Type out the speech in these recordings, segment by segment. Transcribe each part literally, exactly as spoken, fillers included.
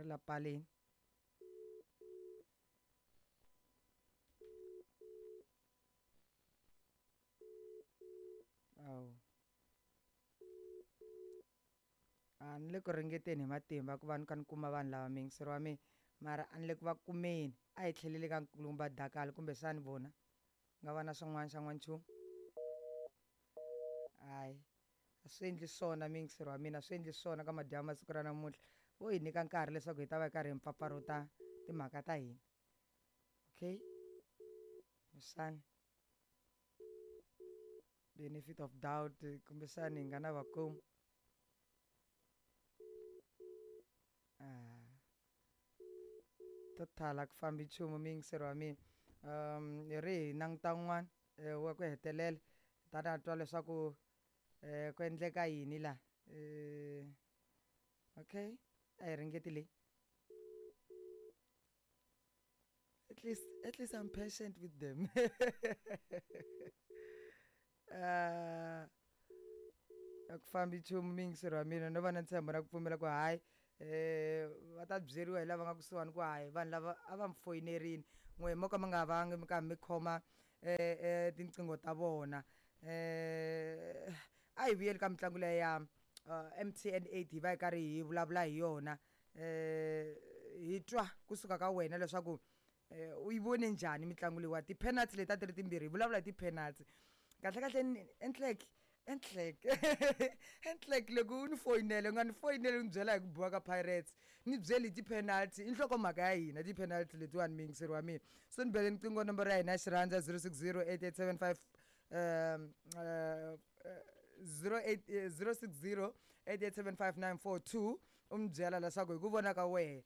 Ri la paleni. Awu. A ni le ku ringeteni hi matimba ku va ni kha ni kuma vanhu lava muyingiseri wa mina mara a ni le ku va kumeni a hi tlheleli ka nkulukumba Dakali kumbexani vona nga va na swin'wana xa n'wanchumu hayi a swi endli swona muyingiseri wa mina swi endli swona ka madyambu masiku ra namuntlha vo hi nyika nkarhi leswaku hi ta va hi karhi hi mpfapfarhuta timhaka ta hina okay kumbexani benefit of doubt kumbexani hi nga na va kuma ah to tala ku fambi nchumu muyingiseri wa mina um hi ri hi languta un'wana wa ku hetelela ta ta twa leswaku um ku endleka yini laha um okay a hi ringeti leyi at least at least I'm patient with them uh a ku fambi nchumu muyingiseri wa mina no va na ntshembo na ku pfumela ku hayi eh va ta byeriwa hi lava nga kusuhani ku hayi vanhu lava a va mi foyinerini n'we mo ka mi nga vangi mi karhi mi khoma eh eh tinqingho ta vona eh a hi vuyeli ka mitlangu leya ya M T N eight hi va hi karhi hi vulavula hi yona eh hi twa kusuka ka wena leswaku u yi vone njhani mitlangu leyiwa ti-penalty leti a ti ri timbirhi hi vulavula hi ti-penalty kahle kahle enhlek enhlek enhlek loko u ni foyinele u nga ni foyineli u ni byela hi ku biwa ka Pirates ni byeli hi ti-penalty i nhlokomhaka ya hina ti-penalty letiwani muyingiseri wa mina so ni bele niqingho nomboro ya hina ya xirhandza zero six zero eight eight seven five um uh, zero eight zero six zero eight eight seven five nine four two u mi byela leswaku hi ku vona ka wehe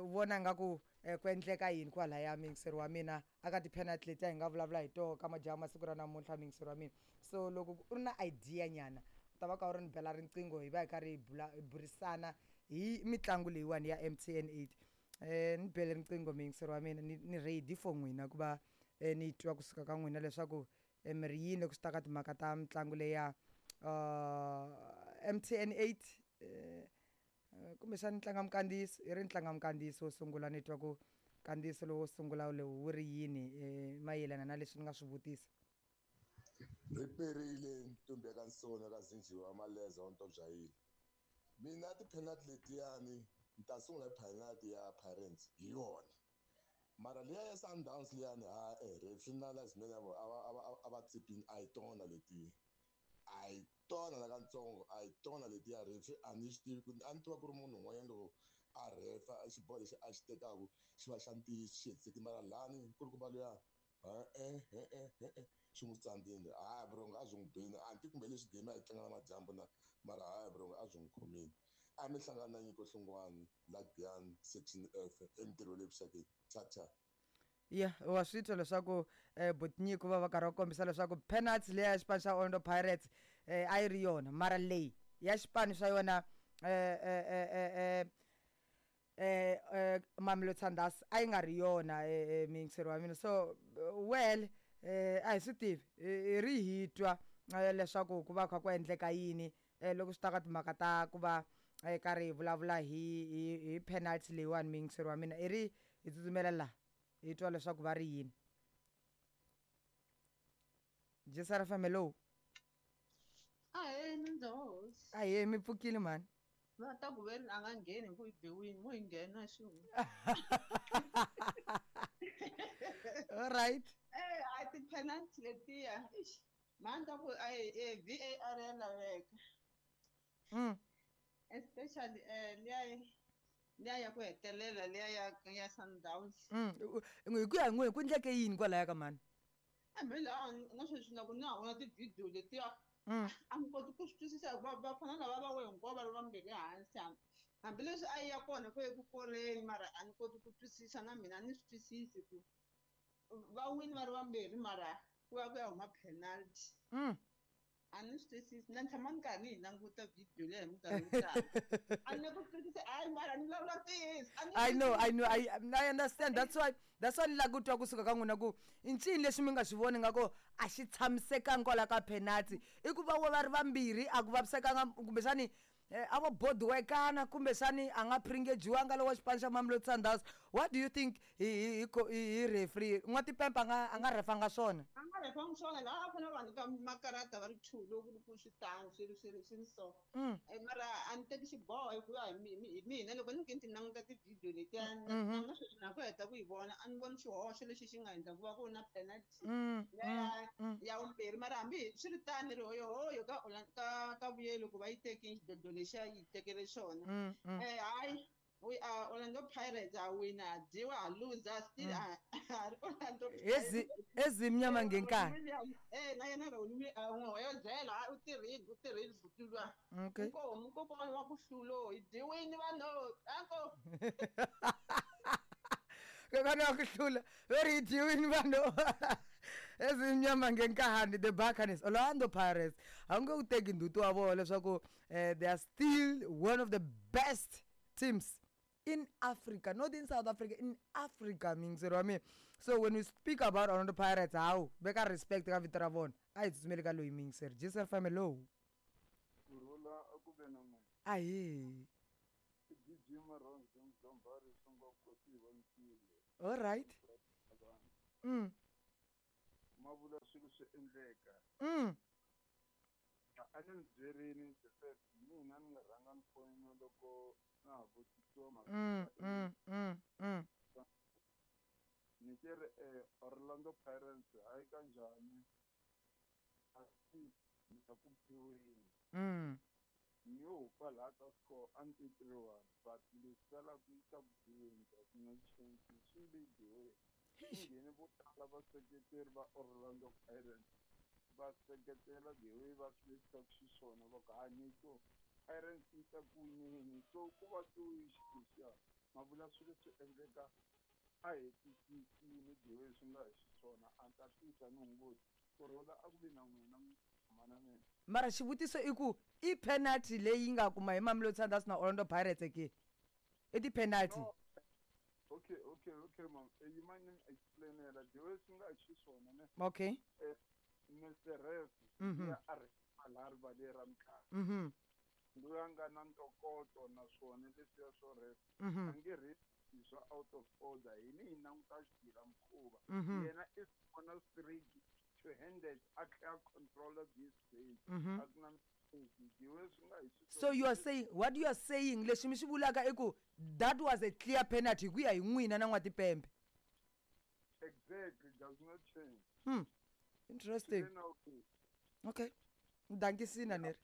u vona nga ku ku endleka yini kwalaya muyingiseri wa mina aka ti-penalty letiya hi nga vulavula hi toho ka madyambu masiku ra namuntlha muyingiseri wa mina so loko u ri na idea nyana u ta va ka u ri ni bela riqingho hi va hi karhi hi bula hi burisana hi mitlangu leyiwani ya M T N eight eh ni bele riqingho muyingiseri wa mina ni ni ready for n'wina ku va ni twa kusuka ka n'wina leswaku mi ri yini loko swi ta ka timhaka ta mitlangu leya uh M T N eight eh kumbexani tlanga minkandziyiso i ri ni tlanga minkandziyiso wo sungula ni twa ku nkandziyiso lowo sungula lowu wu ri yini mayelana na leswi ni nga swi vutisa ri perile ntombi ya ka nsona ka zinjiwa wa maleza wa ntobyayile mina ti-penalty letiyani ni ta sungula hi penalty ya Pirates hi yona mara liya ya Sundowns liyani ha eh referee na linesman a va a va tsipini a hi tona letiya a hi tona la katsongo a hi tona letiya referee a ni xi tivi ku a ni tiva ku ri munhu un'wanyana loko a refa xiboho lexi a xi tekaku xi va xa ntiyiso xi hetisekile mara lani nkulukumba luya e e e xi n'wi tsandzile hayi brongo a byi n'wi bini a ni ti kumbe leswi game a yi tlanga na madyambu na mara hayi brongo a byi n'wi khomile a mi hlangana na Nyiko Hlongwane la Giyani section F entirho le vuxakeni cha cha ya wa swi twa leswaku eh Botnyiko va va karhi va kombisa leswaku penalty leya xipano xa Orlando Pirates eh a yi ri yona mara leyi ya xipano xa yona eh eh eh eh eh Mamelodi Sundowns a yi nga ri yona eh muyingiseri wa mina so well eh a hi swi tivi hi ri hi twa leswaku ku va kha ku endleka yini loko swi ta ka timhaka ta ku va karhi hi vulavula hi hi hi penalty leyiwani muyingiseri wa mina i ri hi tsutsumela laha hi twa leswaku va ri yini Jesara F M hello Ahee Mindzohosi ahee mi pfukile mhani va ta ku veri a nga ngheni hi ku yi biwini mo yi nghena xin'we all right eh a ti-penalty letiya ixi mhani ta ku a V A R ya laveka mm especially eh liya liya ya ku hetelela liya ya ya Sundowns mm hi ku ya hi n'we ku endleke yini kwalaya ka mhani hambi laha na sweswi loko na ha vona ti-video letiya mm a ni koti ku swi twisisa hikuva vafana lava va we hinkwavo va ri vambirhi hansi hambileswi a yi ya kona ku eku koreni mara a ni koti ku twisisa na mina a ni swi twisisi ku va wini va ri vambirhi mara ku va ku ya huma penalty mm a ni swi twisisi na tshama ni karhi ni yi languta video leyi hi minkarhi yo tala a ni ku twisisi hayi mara ni vulavula ntiyiso I know I know I I understand that's why that's why ni lava ku twa kusuka ka n'wina ku i ncini lexi mi nga xi voni nga ku a xi tshamisekanga kwala ka penalty i ku va va ri vambirhi a ku vavisekanga kumbexani eh, a vo bodiwekana kumbexani a nga pringejiwanga lowa xipano xa Mamelodi Sundowns. What do you think hi hi hi hi referee N'watipempe a nga a nga refanga swona? A nga refangi swona laha a fanele va nyika makarata va ri two loko ku ri ku swi tano swi ri swi ri swi ri so. Mm. Eh, mara a ni teki xiboho hikuva hi mi- hi mina loko ni ke ni ti languta ti-video letiya Mhm. na sweswi na ku heta ku yi vona a ni voni xihoxo lexi xi nga endla ku va ku ri na penalty Mm, leya mm, ya vumbirhi. Mara hambi swi ri tano ri hoyohoyo ka Orlando- ka ka vuyelo ku va yi tekile xidlodlo lexiya yi tekele xona. mm, mm. Eh, hayi, we are Orlando Pirates, ha wina, ha dyiwa, ha loser, still Mm. ha ha ri Orlando Ezi Pirates. ezimnyama ngenkani. William, eh, na yena Ronnie, eh, n'wi hoyozela, hayi, u tirhile, u tirhile buti luya. Okay. Inkomu, kokwana wa ku hlulo, hi dyiwini vanhu, anko. Kokwana wa ku hlula, ve ri hi dyiwini vanhu. Ezimnyama ngenkani, the Buccaneers, Orlando Pirates. A wu nge wu teki ndzhuti wa vona leswaku eh, they are still one of the best teams in Africa, not in South Africa, in Africa, miyingiseri wa mina. So when we speak about Orlando Pirates, hawu, veka respect ka vito ra vona. A hi tsutsumeli ka loyi miyingiseri. G S F M, hello. Kurhula a ku ve na n'wina. Ahee. I D J Maronzo Mdlombari Songokosi wa Nsile. All right. Vanhu Mm. ma vula swilo swi endleka. Mm. A ni mi byerini the first mina ni nga rhanga ni foyina loko na ha vutisiwa mhaka Mm, ya mm, mm, mm. ni ke ri eh, Orlando Pirates hayi kanjhani a si na ku phiweni Mm. ni yo hupa laha ka score a ni ti three one but leswi salaka yi ta ku dyiweni there's no change swi le dyiweni Eish. nghene vo tala vaseketeri va Orlando Pirates va seketela the way va swi vekisaka xiswona va ku hani so Pirates yi ta ku wineni so ku va tiwixi lexiya ma vula swilo swi endleka a hetisisini the way swi nga hi xiswona a ni ta tisa ni hunguti kurhula a ku vi na n'wina mhana mina. Mara xivutiso i ku i penalty leyi nga kuma hi Mamelodi Sundowns na Orlando Pirates ke? I ti-penalty. No. Okay, okay, okay, ma'am. Eh, you mind ni explainela the way swi nga hi xiswona ne? Okay. Eh, Mister Ref Mhm. ya a ri laha rivaleni ra mitlangu. Mhm. Loyi a nga na ntokoto naswona leswiya swo ref Mhm. a nge ref swa out of order hini hi languta xigila mukhuva. Mhm. Yena i vona straight to handed a tlhela a controla this game. Mhm. A ku na mistake the way swi nga hi xiswona. So you are saying, what you are saying, leswi mi swi vulaka i ku that was a clear penalty hi ku ya hi n'wina na N'watipembe. Exactly, does not change. Hmm. Interesting. Swi le nawini. Okay. Dankisina ni ri.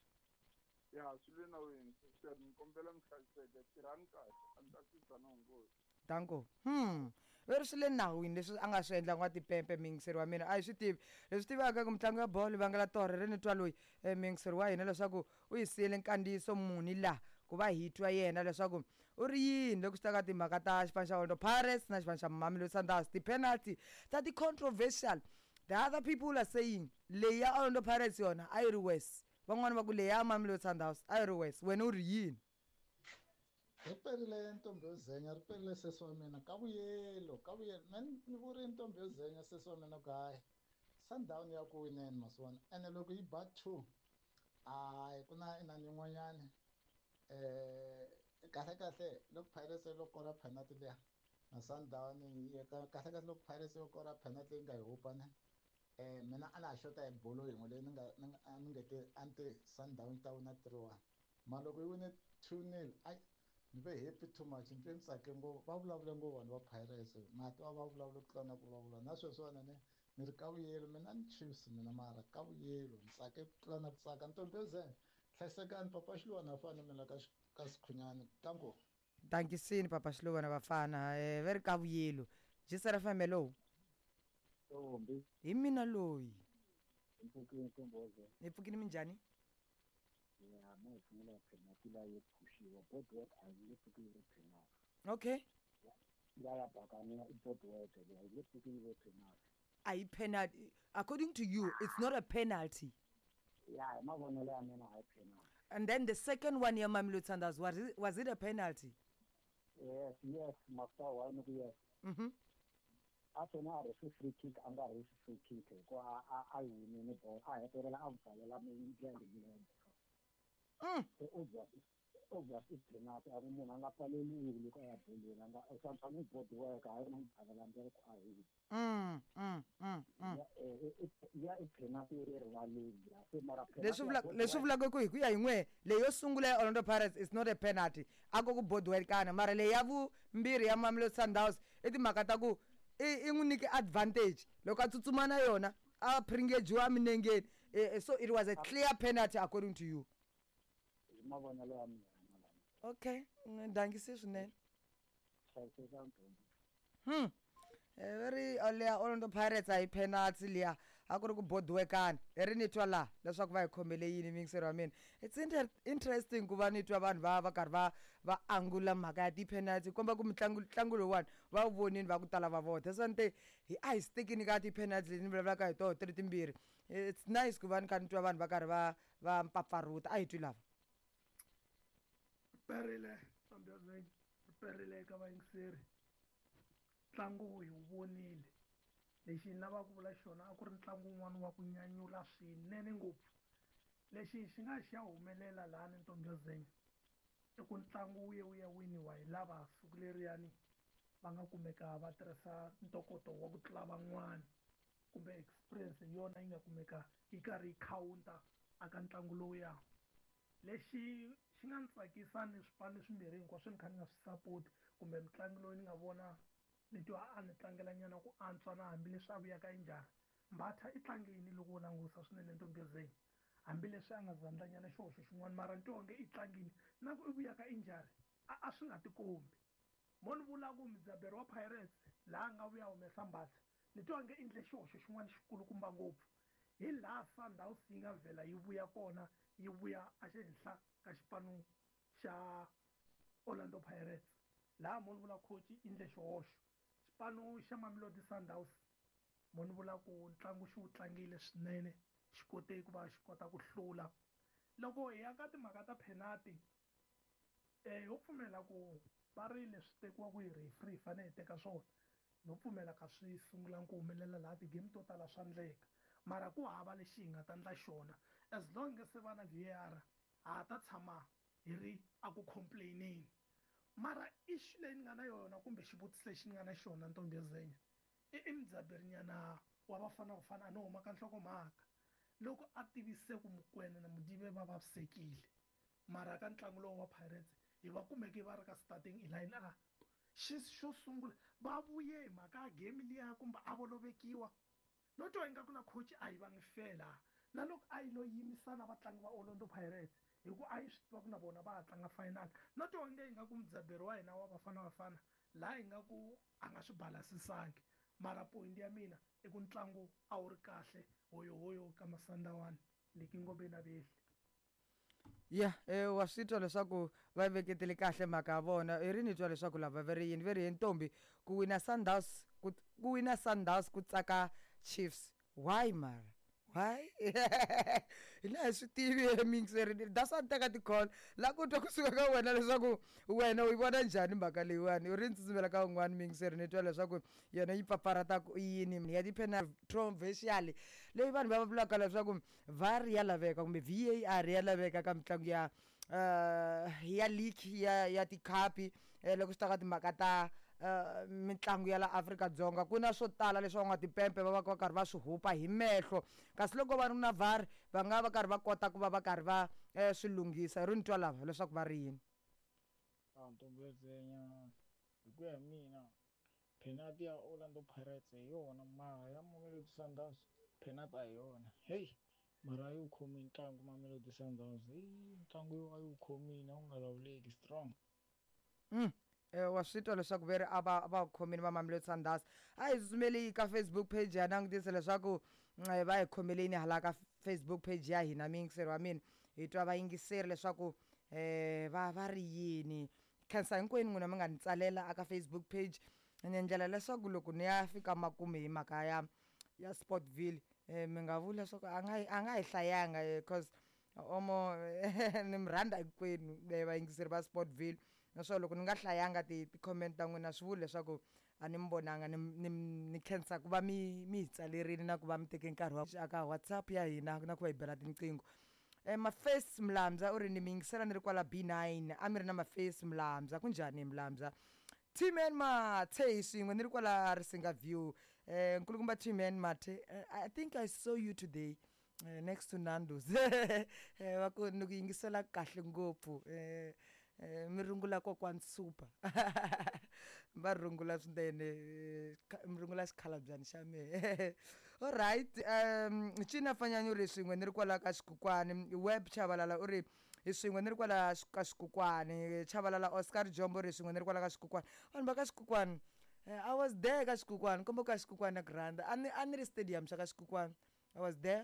Ya swi le nawini sir, ni kombela mi hlayiseka tirhani kahle a ni ta tisa na nghozi. Danko. Hmm. Ve ri swi le nawini leswi a nga swi endla N'watipempe miyingiseri wa mina a hi swi tivi leswi tivaka ku mitlangu ya bolo vangela torhe ri ni twa loyi eh, miyingiseri wa hina leswaku u hi siyele nkandziyiso muni laha ku va hi twa yena leswaku u ri yini loko swi ta ka timhaka ta xipano xa Orlando Pirates na xipano xa Mamelodi Sundowns, ti-penalty ta ti-controversial. The other people are saying leyi ya Orlando Pirates yona a yi ri worse, van'wani va ku leyi ya Mamelodi Sundowns a yi ri worse. Wena u ri yini? Ri perile ntombi yo zenya, ri perile sesi wa mina ka vuyelo ka vuyelo me ni vuri ntombi yo zenya sesi wa mina ku hayi Sundown ya ku wineni masivona ene loko yi ba two hayi ku na inani yin'wanyani eh kahle kahle loko Pirates yo kora penalty liya na Sundown yi kahle kahle loko Pirates yo kora penalty leyi nga yi hupa ne eh mina a na ha xota hi bolo yin'we leyi ni nga ni nga a ni nge te a ni te Sundown yi ta wina three one mara loko yi wine two nil ayi ni ve happy too much ni twe ni tsake ngopfu va vulavule ngopfu vanhu va Pirates mati va va vulavule ku tlula na ku vulavula na sweswiwani ne ni ri ka vuyelo mina ni Chiefs mina mara ka vuyelo ni tsake ku tlula na ku tsaka ntombi yo zenya hlayisekani papa Xiluwana fana mina ka ka Sikhunyani tanko. Dankisini papa Xiluwana vafana eh, ve ri ka vuyelo G S F M, hello. Ntombi. Hi mina loyi. Mpfukini ntombozo. Hi pfukini minjhani? Ya ma hi sungula penalty la yo phushiwa boardwork a yi nge pfuki yi ve penalty. Okay. Ya ya bakaniya i boardwork leyi a yi nge pfuki yi ve penalty. A yi penalty according to you, it's not a penalty? Ya hi mavonelo ya mina a yi penalty. And then the second one ya Mamelodi Sundowns, was it, was it a penalty? Yes, yes, master wa ni ku yes. Mhm. A fane a rhefa free kick a nga rhefi free kick hikuva a a a yi winile bolo a hetelela a pfalela milenge milenge. Mm. Se obvious Obvious i penalty a ku munhu a nga pfaleliwi loko a ya bolweni a nga sometimes i board work a yi na mudzavelandela ku a hi Mm, mm, mm, mm. ya eh, i- ya i penalty yi ri rivaleni ya se mara leswi vula leswi vulaka ku hi ku ya hi n'we leyi yo sungula ya Orlando Pirates is not a penalty a ko ku bodiwekana mara leyi ya vumbirhi ya Mamelodi Sundowns i timhaka ta ku i i n'wi nyike advantage loko a tsutsuma na yona a pringejiwa eminengeni Eh, eh, so it was a clear penalty according to you hi mavonelo ya mina lama okay mm, dangisi swinene hlayiseka ntombi hmm Eh, va ri uh, leya Orlando Pirates a hi penalty liya a ku ri ku bodiwekana i ri ni twa laha leswaku va hi khomele yini miyingiseri wa mina it's inter interesting ku va ni twa vanhu va va karhi va va angula mhaka ya ti-penalty komba ku mitlangu ntlangu lowuwani va wu vonini va ku tala va vona that's why ni te hi a hi stikini ka ti-penalty leti ni vulavulaka hi toho ti ri timbirhi it's nice ku va ni kha ni twa vanhu va karhi va va mpfapfarhuta a hi twi lava Riperile ntombi riperile eka vayingiseri ntlangu hi wu vonile lexi ni lavaka ku vula xona a ku ri ntlangu wun'wana wa ku nyanyula swinene ngopfu lexi xi nga xi ya humelela lahani ntombi yo zenya i ku ntlangu wu ye wu ya winiwa hi lava siku leriyani va nga kumeka va tirhisa ntokoto wa ku tlula van'wani kumbe experience hi yona yi nga kumeka yi karhi yi khawunta aka ntlangu lowuya lexi xi nga ni tsakisa ni swipano swimbirhi hinkwaswo ni kha ni nga swi support kumbe mutlangi loyi ni nga vona ni twa a ni tlangela nyana ku antswa na hambileswi a vuyaka injhani Mbatha i tlangini loko wo langusa swinene ntombi zeni hambileswi a nga zandlanyana xihoxo xin'wana mara ni twa onge i tlangini na ku i vuyaka injhani a a swi nga tikombi mo ni vula ku mudzaberi wa Pirates laha a nga vuya humesa Mbatha ni twa onge i endle xihoxo xin'wana xikulukumba ngopfu hi laha Sundowns yi nga vhela yi vuya kona yi vuya ehenhla ka xipano xa Orlando Pirates laha mo ni vula coach i endle xihoxo xipano xa Mamelodi Sundowns mo ni vula ku ntlangu xi wu tlangile swinene xi kote ku va xi kota ku hlula loko hi ya ka timhaka ta penalty eh ho pfumela ku va ri leswi tekiwa ku hi referee hi fanele hi teka swona no pfumela ka swi sungula ku humelela laha ti-game to tala swa ndleka mara ku hava lexi hi nga ta ndla xona as long as se va na V A R ha ta tshama hi ri a ku complaineni mara issue leyi ni nga na yona kumbe xivutiso lexi ni nga na xona ntombi yo zenya i i mudzaberinyana wa Bafana Bafana a no huma ka nhlokomhaka loko a tivise ku Mokoena na Modiba va vavisekile mara ka ntlangu lowu wa Pirates hi va kumeke va ri ka starting line a xi xo sungula va vuye hi mhaka ya game liya kumbe a vo lovekiwa no twa ingaku na coach a yi vangi fela na loko a yi lo yimisa na vatlangi va Orlando Pirates hi ku a yi swi tiva ku na vona va ha tlanga final no twa onge ingaku mudzaberi wa hina wa Bafana Bafana laha ingaku a nga swi balasisangi mara point ya mina i ku ntlangu a wu ri kahle hoyohoyo ka Masandawani leki na vehli ya eh, wa swi twa leswaku va veketele kahle mhaka ya vona i ri ni twa leswaku lava va ri yini ve ri hi ntombi ku wina Sundowns ku ku wina Sundowns ku tsaka Chiefs why mara why hina hi swi tivi miyingiseri that's why ni teka ti-call la ku twa kusuka ka wena leswaku wena u yi vona njhani mhaka leyiwani u ri ni tsutsumela ka un'wana miyingiseri ni twa leswaku yona yi papalata ku yini ya ti-controversial leyi vanhu va vulaka leswaku V A R ya laveka kumbe V A R ya laveka ka mitlangu ya uh, ya league ya ya tikhapi eh, loko swi ta ka timhaka ta uh, mitlangu ya la Afrika-Dzonga ku na swo tala leswi van'watipempe va va va karhi va swi hupa hi mehlo kasi loko va ri na V A R va nga va karhi va kota ku va va karhi va eh, swi lunghisa hi ri ni twa lava leswaku va ri yini A ntombi yo zenya hi ku ya hi mina penalty ya Orlando Pirates hi yona mara ya Mamelodi Sundowns penalty a hi yona heyi mara a yi wu khomi ntlangu Mamelodi Sundowns heyi ntlangu yo a yi wu khomile a wu nga lawuleki strong Mm. Eh, wa swi twa leswaku ve ri a va va khomini va Mamelodi Sundowns a hi tsutsumeli ka Facebook page ya langutisa leswaku eh, va hi khomeleni hala ka Facebook page ya hina miyingiseri wa mina hi twa vayingiseri leswaku eh va va ri yini khensa hinkwenu n'wina mi nga ni tsalela aka Facebook page ni endlela leswaku loko ni ya fika makumu hi mhaka ya ya Sportville eh, mi nga vuli leswaku a nga a nga hi hlayanga eh, cause omo ni mi rhandza hinkwenu eh, vayingiseri va Sportville naswona loko ni nga hlayanga ti ti-comment ta n'wina swi vuli leswaku a ni mi vonanga ni ni ni khensa ku va mi mi hi tsalerile na ku va mi teke nkarhi wa aka WhatsApp ya hina na ku va hi bela tinqingho Eh, Mafesi Mlamza u ri ni mi yingisela ni ri kwala B nine a mi ri na Mafesi Mlamza kunjhani Mlamza T-Man Mathe hi swin'we ni ri kwala Risinga View eh nkulukumba T-Man Mathe eh, I think I saw you today eh, next to Nando's eh va ku ni ku yingisela kahle ngopfu eh eh, mi rungula kokwani super va rungula swinene eh, kha- mi rungula xikhalabyani xa mehe alright um Cina Fanyanya u ri swin'we ni ri kwala ka Xikukwani Web Chabalala u ri hi swin'we ni ri kwala xi- ka Xikukwani Chabalala Oscar Jombo u ri swin'we ni ri kwala ka Xikukwani vanhu va ka Xikukwani eh, I was there ka Xikukwani komba ka Xikukwani na ku rhandza a ni a ni ri stadium xa ka Xikukwani I was there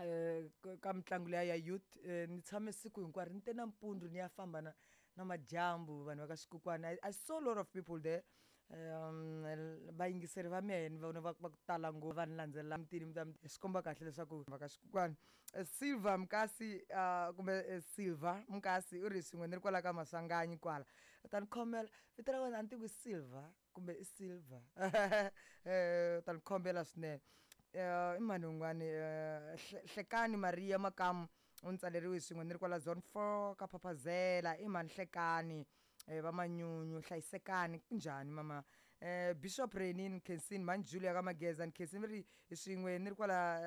eh ka- ka mitlangu liya ya youth eh, ni tshame siku hinkwaro ni te nampundzu ni ya famba na na madyambu vanhu va ka Xikukwani I, I saw a lot of people there um vayingiseri va mehe ni vona va va ku tala ngopfu va ni landzelela mitini mi ta mi swi komba kahle leswaku va ka Xikukwani Eh, Silver Mkasi uh, kumbe eh, Silver Mkasi u ri swin'we ni ri kwala ka Maswanganyi kwala u ta ni khomela vito ra wena a ni tivi ku i Silver kumbe i Silver eh u ta ni khombela swinene eh i mani un'wani eh Hle- Hlekani Maria Makamu u ni tsaleriwe swin'we ni ri kwala zone four ka Phaphazela i mani Hlekani eh va Manyunyu hlayisekani kunjhani mama eh Bishop Renin Kensini mani Julia ka Mageza ni Kensini ri hi swin'we ni ri kwala